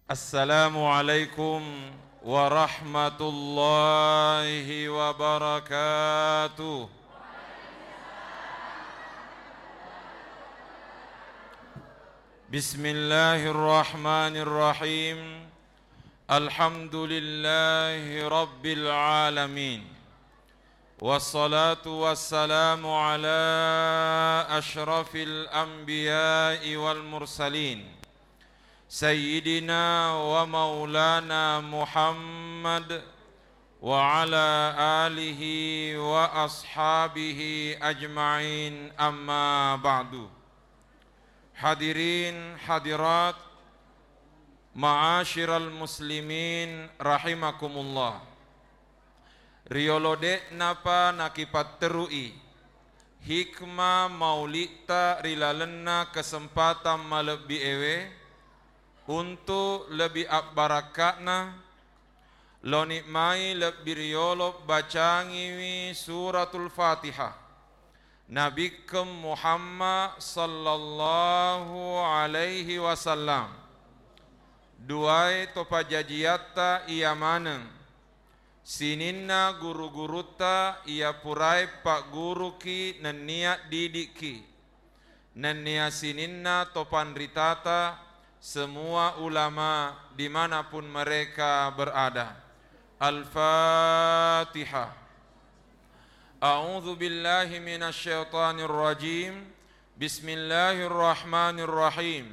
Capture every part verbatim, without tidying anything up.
Assalamualaikum warahmatullahi wabarakatuh. Bismillahirrahmanirrahim. Alhamdulillahi rabbil alamin. Wassalatu wassalamu ala asyrafil anbiya'i wal mursalin, sayyidina wa maulana Muhammad wa ala alihi wa ashabihi ajma'in, amma ba'du. Hadirin hadirat, ma'asyiral muslimin rahimakumullah. Riyolo de'napa nakipatterui hikmah maulitta ri lalenna kesempatan malebbi ewe untu' lebbi abbarakka'na, loni mai lebbi riyolo bacangiwi Suratul Fatihah. Nabikkeng Muhammad sallallahu alaihi wasallam. Duae to pajajiatta iya maneng, sininna guru-gurutta iya purae pagguruki nennia didikki, nennia sininna to panritata, semua ulama dimanapun mereka berada. Al-Fatihah. A'udzu billahi minasy syaithanir rajim. Bismillahirrahmanirrahim.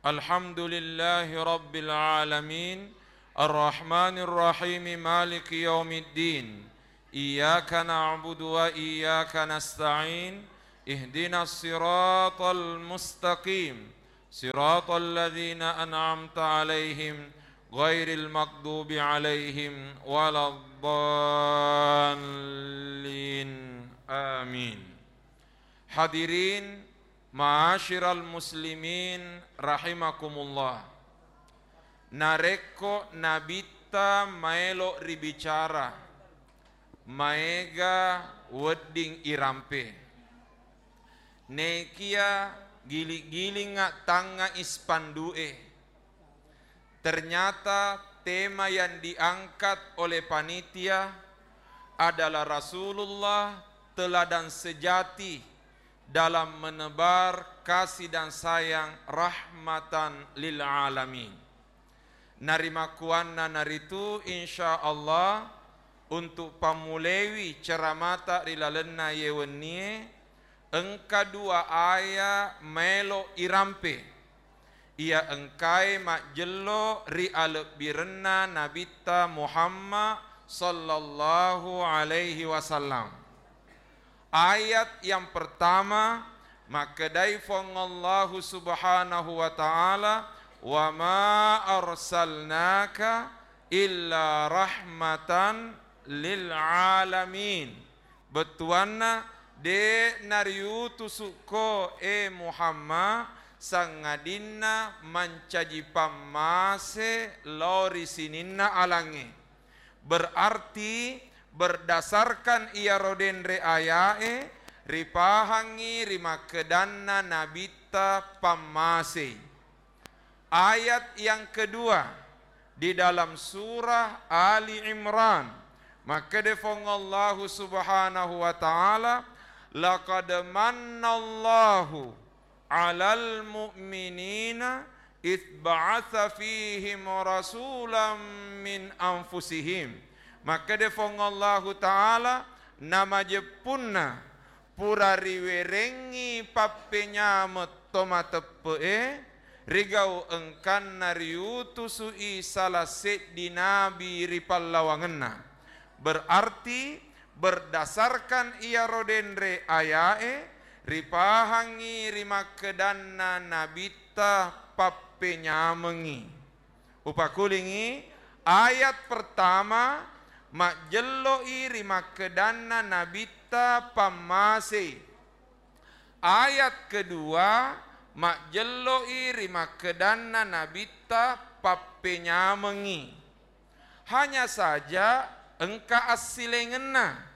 Alhamdulillahi rabbil alamin. Arrahmanirrahim. Maliki yaumiddin. Iyyaka na'budu wa iyyaka nasta'in. Ihdinas siratal mustaqim. Siratal ladzina an'amta 'alaihim ghairil maghdubi 'alaihim waladdallin. Amin. Hadirin ma'asyiral muslimin rahimakumullah. Narekko Nabitta maelo ribicara, maega wedding irampe. Nekia giling-gilingnga tangnga ispandu'e. Ternyata tema yang diangkat oleh panitia adalah Rasulullah, teladan sejati dalam menebar kasih dan sayang rahmatan lil alamin. Narimakkuannanaritu, insya Allah, untuk pammulewi ceramata ri lalenna ye wennie, engka dua aya maelo irampe. Iya engkae majjello ri alebbirenna Nabitta Muhammad sallallahu alaihi wasallam. Ayat yang pertama, makkedai Fuang Allahu Subhanahu wa Ta'ala, "Wa ma arsalnaka illa rahmatan lil alamin." Bettuanna, de' nariutusukko, e Muhammad, sangadinna mancaji pammase lao ri sininna alangnge. Berarti, berdasarkan iyaro denre ayae, ripahangngi rimakkedanna Nabitta pammasei. Ayat yang kedua di dalam surah Ali Imran, makkeda Fuang Allahu Subhanahu wa Ta'ala, "Laqad mannallahu 'alal mu'minina idz ba'atsa fihim rasulam min anfusihim." Makkeda Fuang Allahu Ta'ala, namajeppunna pura riwerengngi pappenyameng to mateppe'e, rigau engkanna riutusu'i sala seddi nabi ri pallawangenna. Berarti, berdasarkan iyaro denre ayae, ripahangngi rimakkedanna Nabitta pappenyamengngi. Upakulingngi, ayat pertama majjello'i rimakkedanna Nabitta pammasei. Ayat kedua majjello'i rimakkedanna Nabitta pappenyamengngi. Hanya saja engka assilengenna.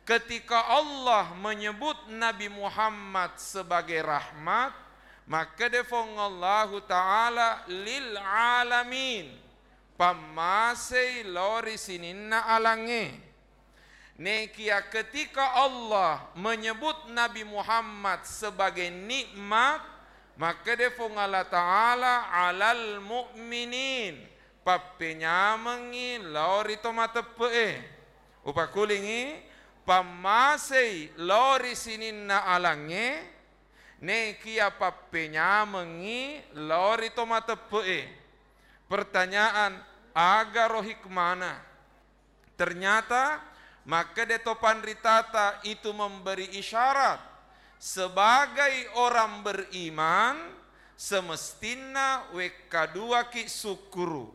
Ketika Allah menyebut Nabi Muhammad sebagai rahmat, Makkeda Fuang Allahu Ta'ala, "Lil alamin," pammasei lao ri sininna alangnge. Nekia ketika Allah menyebut Nabi Muhammad sebagai nikmat, makkeda Fuang Allah Ta'ala, "Alal mu'minin," pappenyamengngi lao ri to mateppe'e. Upakulingi, pammasei lao ri sininna alangnge, nekia pappenyamengngi lao ri to mateppe'e. Pertanyaan, agaro hikmana? Ternyata, makkeda to panritata itu memberi isyarat, sebagai orang beriman, semestinna wekkaduaki sukkuru.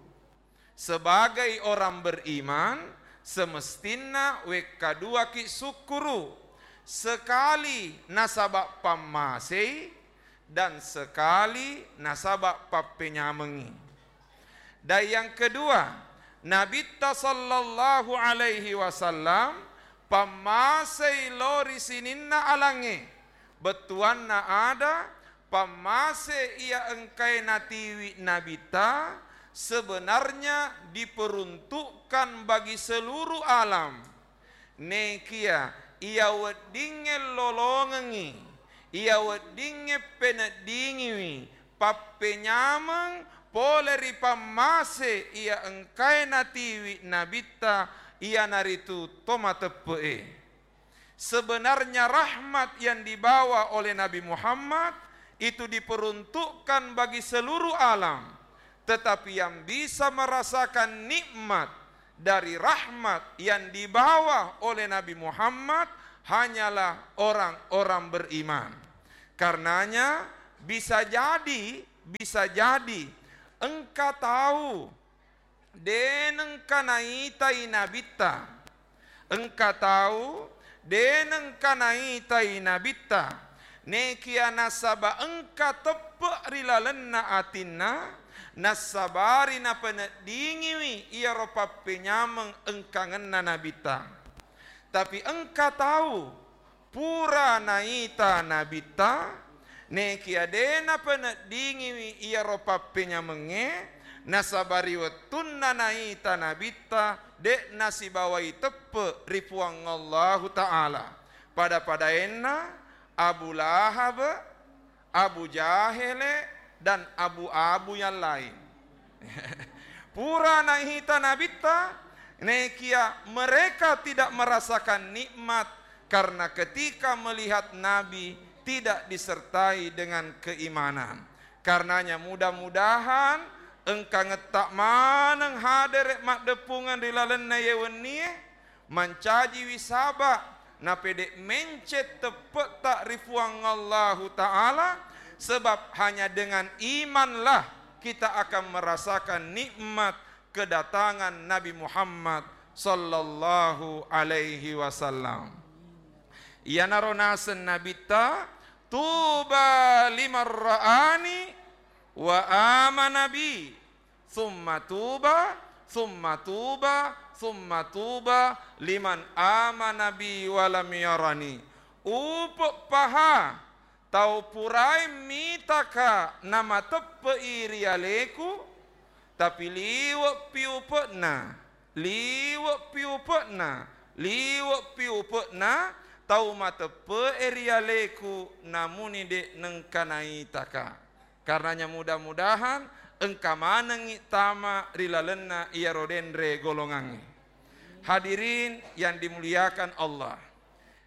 Sebagai orang beriman, semestinna wekkaduaki sukkuru. Sekali nasaba pammasei, dan sekali nasaba pappenyamengngi. Dan yang kedua, Nabitta sallallahu alaihi wasallam pammasei lao ri sininna alangnge. Bettuanna ada, pammase iya engkae natiwi Nabitta sebenarnya diperuntukkan bagi seluruh alam. Nekia iya weddingnge lolongengngi, iya weddingnge peneddingiwi, pappenyameng pole ri pammase iya engkae natiwi Nabitta, iyanaritu to mateppe'e. Sebenarnya rahmat yang dibawa oleh Nabi Muhammad itu diperuntukkan bagi seluruh alam. Tetapi yang bisa merasakan nikmat dari rahmat yang dibawa oleh Nabi Muhammad hanyalah orang-orang beriman. Karenanya, bisa jadi, bisa jadi engka tau de nengka naitai Nabitta. Engka tau de nengka naitai Nabitta. Nekia nasaba engka teppe ri lalenna atinna, nassabari napeneddingiwi iyaro pappenyameng engkangenna Nabitta. Tapi engka tau pura naita Nabitta, nekia de napeneddingiwi iyaro pappenyamengnge, nasaba ri wettunna naita Nabitta, de nasibawai teppe ri Puang Allahu Ta'ala. Pada-padaenna Abu Lahab, Abu Jahele, dan abu-abu yang lain. Pura naita Nabitta, nekia mereka tidak merasakan nikmat karena ketika melihat Nabi tidak disertai dengan keimanan. Karenanya, mudah-mudahan engka ngetta maneng hadere maddeppungeng ri lalenna ye wennie, mancajiwi saba, napede mencet teppe'ta ri Puang Allahu Ta'ala, sebab hanya dengan imanlah kita akan merasakan nikmat kedatangan Nabi Muhammad sallallahu alaihi wasallam. Iyanaro naseng Nabitta, "Tuba liman ra'ani wa amana bi." Summa tuba, summa tuba, summa tuba liman amana bi wa lam yarani. Upe' paha tau purae mitaka namateppe'i ri aleku, tapi liwe'pi upe'na, liwe'pi upe'na, liwe'pi upe'na tau mateppe'e ri aleku namuni de' nengka naitaka. Karenanya mudah-mudahan engka manengngi tama ri lalenna iyaro denre golongangnge. Hadirin yang dimuliakan Allah,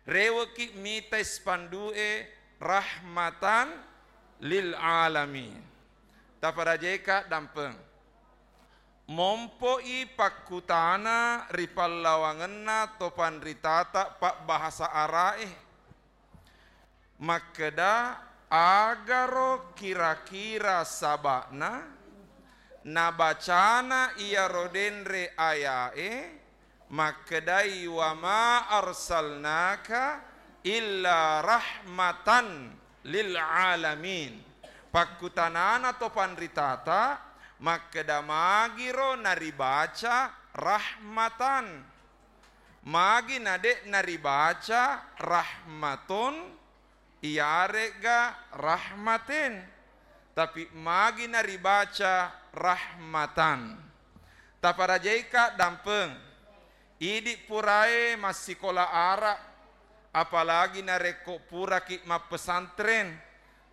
reweki mitai spandu'e rahmatan lil alamin. Taparajeka dampeng. Mompo'i pakkutana ri pallawangenna to panritata pabbahasa Ara'e. Makkeda, agaro kira-kira saba'na nabacana iyaro denre aya'e, makkedai, "Wa ma arsalnaka illa rahmatan lil alamin." Pakkutanana to panritata, makkeda, magiro naribaca rahmatan? Magi na de' naribaca rahmatun? iyare'ga rahmaten, tapi magi naribaca rahmatan. Taparajaika dampeng, idi purae massikola ara, apalagi narekko puraki mappesantren,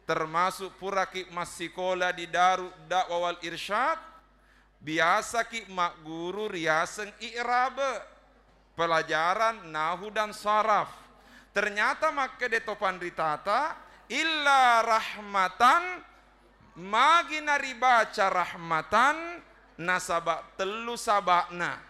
termasuk puraki massikola di Darud Da'wah wal Irsyad, biasaki magguru riaseng i'rabe, pelajaran nahu dan saraf. Ternyata makkeda to panritata, illa rahmatan, magi naribaca rahmatan, nasaba tellu saba'na.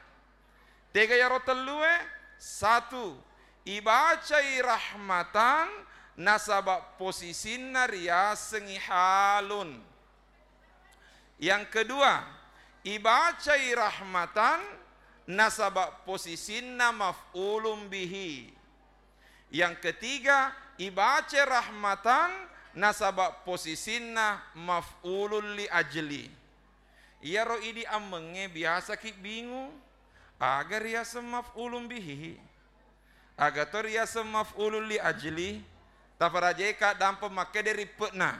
Tega yaro tellue? Satu, ibacai rahmatan nasaba posisinna riasengngi halun. Yang kedua, ibacai rahmatan nasaba posisinna maf'ulun bihi. Yang ketiga, ibaca rahmatan nasaba posisinna maf'ulun li ajli. Iyaro idi ammengnge biasaki bingung, aga riaseng maf'ulun bihi? Aga to riaseng maf'ulun li ajli? Taparajeka dampa makkeda rippe'na.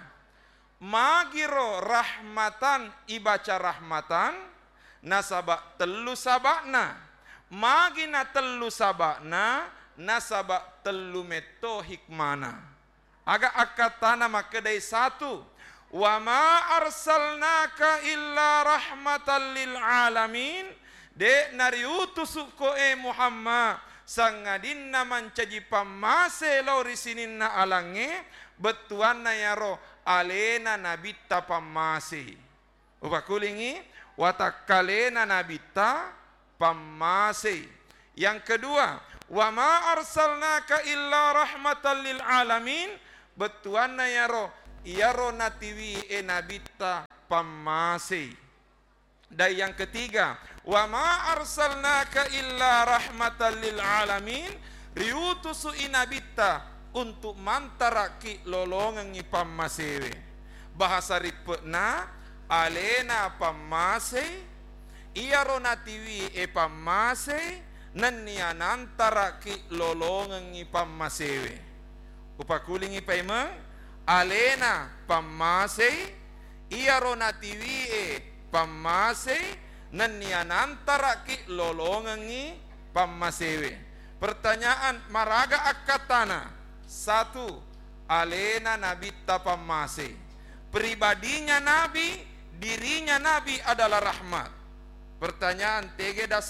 Magiro rahmatan ibaca rahmatan, nasaba tellu saba'na. Magi na tellu saba'na, nasaba tellu metto hikmana. Aga akkattana makkedai satu, "Wa ma arsalnaka illa rahmatan lil alamin," de' nariutusukko e Muhammad, sangadinna mancaji pammase lao ri sininna alangnge, bettuanna yaro alena nabitta pammase. Upakulingi, watakkalena nabitta pammasei. Yang kedua, "Wa ma arsalnaka illa rahmatan lil alamin," bettuanna yaro, iyaro natiwi e nabitta pammasei. Dan yang ketiga, "Wa ma arsalnaka illa rahmatan lil alamin," riutusu i nabitta untuk mantaraki lolongengngi pammasewe. Bahasa rippe'na, alena pammasei, iyaro natiwi e pammasei, nennia nantaraki lolongengngi pammasewe. Upakulingi paimeng, alena pammasei, iyaro natiwi e pammasei, nennia nantaraki lolongengngi pammasewe. Pertanyaan, maraga akkattana? Satu, alena nabitta pammase. Pribadinya Nabi, dirinya Nabi adalah rahmat. Pertanyaan, tege dasar